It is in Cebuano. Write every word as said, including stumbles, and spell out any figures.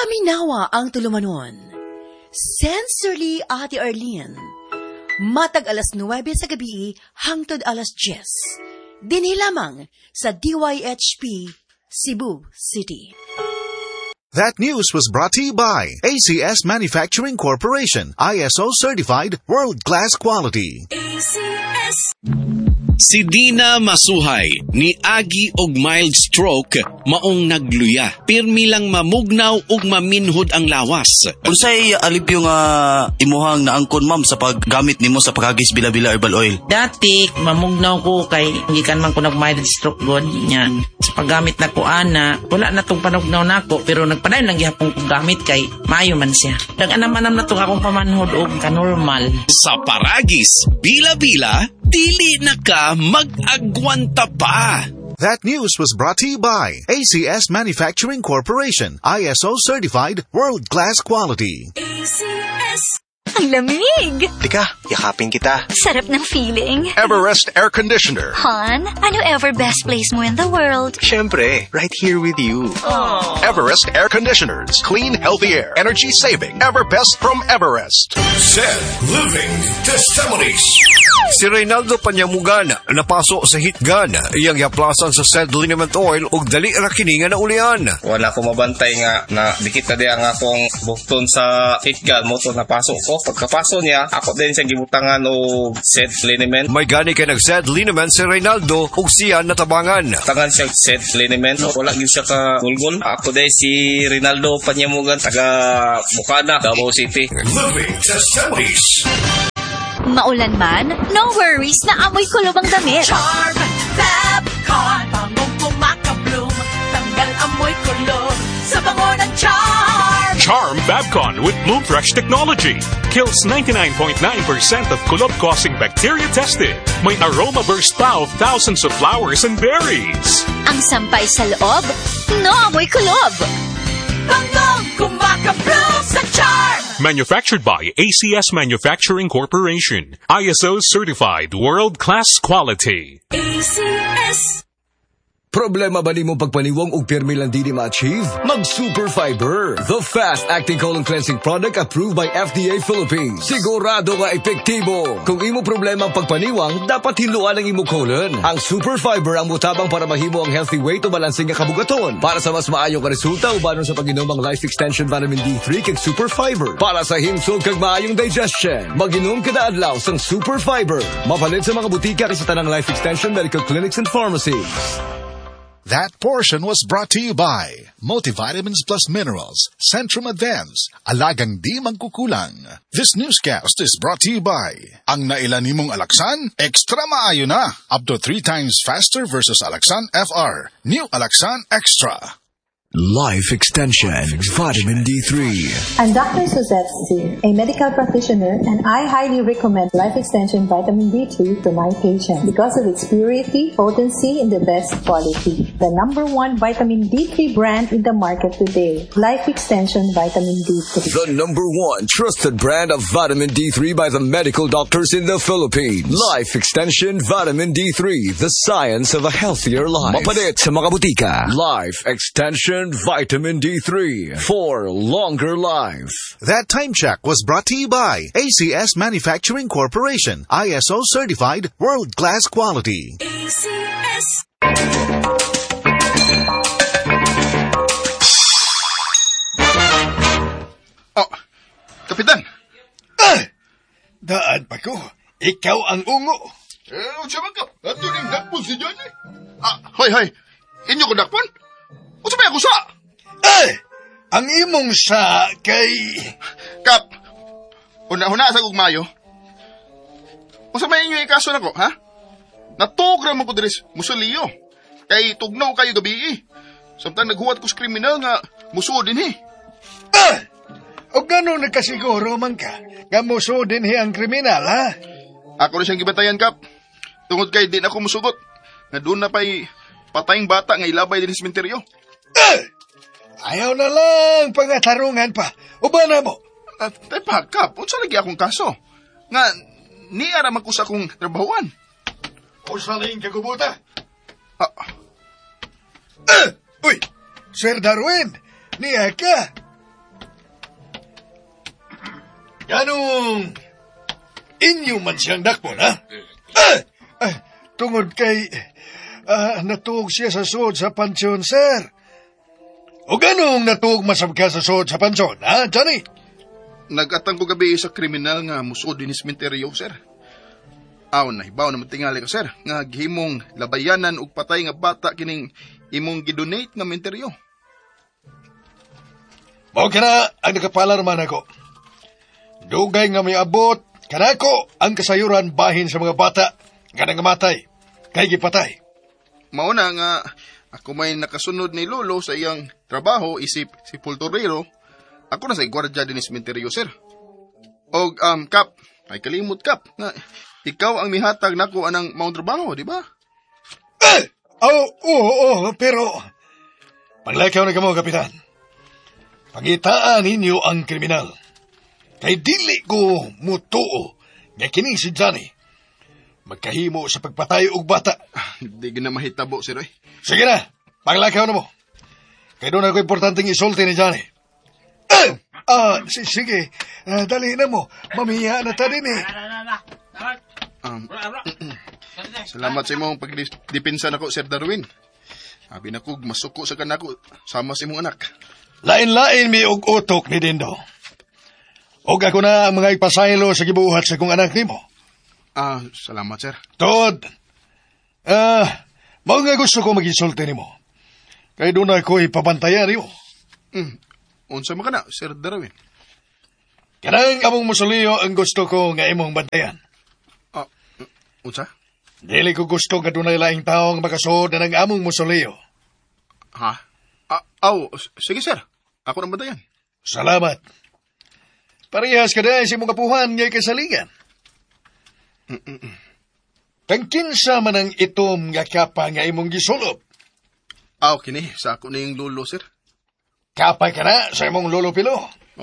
Paminawa ang tulumanon. Sincerely, Ate Arlene. Matag alas nuwebe sa gabi hangtod alas diyes. Dinhi lamang sa D Y H P, Cebu City. That news was brought to you by A C S Manufacturing Corporation, I S O certified world-class quality. A C S. Si Dina Masuhay ni agi og mild stroke maong nagluya. Pirmi lang mamugnaw ug maminhod ang lawas. Unsay alipyo nga imuhang naangkon, ma'am, sa paggamit nimo sa Paragis Bila-Bila Herbal Oil? Dati, mamugnaw ko kay gikan man ko nag mild stroke god nya. Sa paggamit na ko ana, wala na tong panugnaw nako pero nagpadayon lang gihapon ko gamit kay maayo man siya. Nag-anam-anam na tong akong pamanhod og kanormal. Sa Paragis, Bila-Bila, dili na ka mag-agwanta pa. That news was brought to you by A C S Manufacturing Corporation, I S O certified world-class quality. A C S. Ang lamig! Teka, yakapin kita. Sarap ng feeling. Everest Air Conditioner. Hon, ano ever best place mo in the world? Siyempre, right here with you. Everest Air Conditioners. Clean, healthy air. Energy saving. Ever best from Everest. Said Living Testimonies. Si Reynaldo Panyamugan napaso sa heat gun. Iyang yaplasan sa said liniment oil ug dali ra kini nga naulian. Wala ko mabantay nga na dikit na diya nga akong bukton sa heat gun mo to napaso ko. Pagkapaso niya, ako din siyang gibutangan og said liniment. May gani kay nag-said liniment si Reynaldo ug siya natabangan. Tangan siya said liniment. Wala gyud siya ka gulgol. Ako din si Rinaldo Panyamugan, taga Bukana, Davao City. Living Testimonies. Maulan man, no worries na amoy kulob ang damit. Charm Fabcon. Bangong kumakabloom. Tanggal amoy kulob. Sa bango ng Charm. Charm Babcon with Bloom Fresh technology kills ninety-nine point nine percent of kulob-causing bacteria tested. May aroma burst pa of thousands of flowers and berries. Ang sampay sa loob, no amoy kulob. Bangong kumakabloom sa Charm. Manufactured by A C S Manufacturing Corporation. I S O certified world-class quality. A C S. Problema ba nimo pagpaniwang og pirmi lang dili ma-achieve? Mag Super Fiber, the fast-acting colon cleansing product approved by F D A Philippines. Sigurado nga epektibo. Kung imo problema ang pagpaniwang, dapat hinluan ang imo colon. Ang Super Fiber ang mutabang para mahimo ang healthy weight o balansing nga kabugaton. Para sa mas maayong nga resulta, ubanon sa pag-inom ang Life Extension Vitamin D three kag Super Fiber. Para sa himsog kag maayong digestion, mag-inom kada adlaw sang Super Fiber. Mapalit sa mga butika kag sa tanang Life Extension medical clinics and pharmacies. That portion was brought to you by Multivitamins Plus Minerals, Centrum Advance, alagang di magkukulang. This newscast is brought to you by Ang naila nimong Alaxan, extra maayo na. Up to three times faster versus Alaxan F R. New Alaxan Extra. Life Extension Vitamin D three. I'm Doctor Suzette Z, a medical practitioner, and I highly recommend Life Extension Vitamin D three to my patients because of its purity, potency, and the best quality. The number one vitamin D three brand in the market today, Life Extension Vitamin D three. The number one trusted brand of vitamin D three by the medical doctors in the Philippines. Life Extension Vitamin D three, the science of a healthier life. Mapalit sa mga butika. Life Extension Vitamin D three for longer life. That time check was brought to you by A C S Manufacturing Corporation, I S O certified world-class quality. A C S. Oh, Kapitan! Ah! Daan pa ko. Ikaw ang ungo. Eh, unsa man ka? Ato ning dakpon si Johnny. Ah, hoy, hoy. Inyo ko dakpon? Unsa may ako sa? Eh! Ang imong sa kay. Kap, una-una sa gugmayo. Unsa may inyo ikaso nako, ha? Natugra mo ko diri sa musuliyo. Kay tugnaw kayo gabi. Samtang naghuwat ko sa kriminal nga musuod dinhi. Ah! O gano'n nagkasiguro man ka nga musuod dinhi ang kriminal, ha? Ako rin siyang gibatayan, Kap. Tungod kay di na ako musugot. Nga doon na pa'y patayng bata nga ilabay din sa sementeryo. Ah! Ayaw na lang pangatarungan pa. Uban na mo. Uh, pa, Kap, unsa lagi akong kaso? Nga, niya raman ko sa akong trabahuan. Usaling kagubuta. Ah. Ah! Uy, Sir Darwin, niya ka. Ganong inyo man siyang dakpon, ha? Ah! Ah, tungod kay ah, natuog siya sa suod sa pansyon, sir. O ganong natuog masab ka sa suod sa pansyon, ha, Johnny? Nagatang ko gabi sa kriminal nga musod din sementeryo, sir. Aw, nahibaw naman tingali ko, sir, nga gihimong labayanan og patay nga bata kining imong gidonate nga menteryo. Mao kana ang nakapalarman ako. Dugay nga may abot, kanako ang kasayuran bahin sa mga bata nga nangamatay, kay gipatay. Mao na nga ako may nakasunod ni Lolo sa iyang trabaho isip si Pulturero. Ako na sa gwardiya din ni sementeryo, sir. Og um, Kap, ay kalimot, Kap, nga ikaw ang mihatag nako anang maong trabaho, di ba? Eh! Oo, oo, oo, pero panglakaw na kamo, Kapitan. Pangitaan ninyo ang kriminal. Kay dili ko mutuo nga kini si Johnny magkahimo sa pagpatay og bata. Di na mahitabo, sir. Eh. Sige na, panglakaw na mo. Kay doon ako importanteng isulti ni Johnny. Eh! Ah, si- sige, Ah, dali na mo. Mamiya na ta din eh. Um, salamat sa imong pagdepensa nako, Sir Darwin. Abi na kog masuko sa kanako sama sa imong anak. Lain-lain mi og utok ni Dindo. Og ako na ang mga ipasaylo sa gibuhat sa kong anak nimo. Ah, salamat, sir. Tod, ah, mao nga gusto ko magisulti nimo. Kay doon ako ipabantayan nimo. Mm, unsa man ka na, Sir Darwin? Kanang among musuliyo ang gusto ko nga imong bantayan. Ah, unsa? Dili ko gusto nga dunay laing tawo nga makasuod na ng among musuliyo. Ha? Ah, aw, sige, sir. Ako nang bantayan. Salamat. Parehas ka dahil sa imong kapuhan nga kasalingan. Kang kinsa man ang itom nga kapa nga imong gisulob. Aw, kini, sa ako na yung lolo, sir. Kapay ka na sa imong lolo pilo.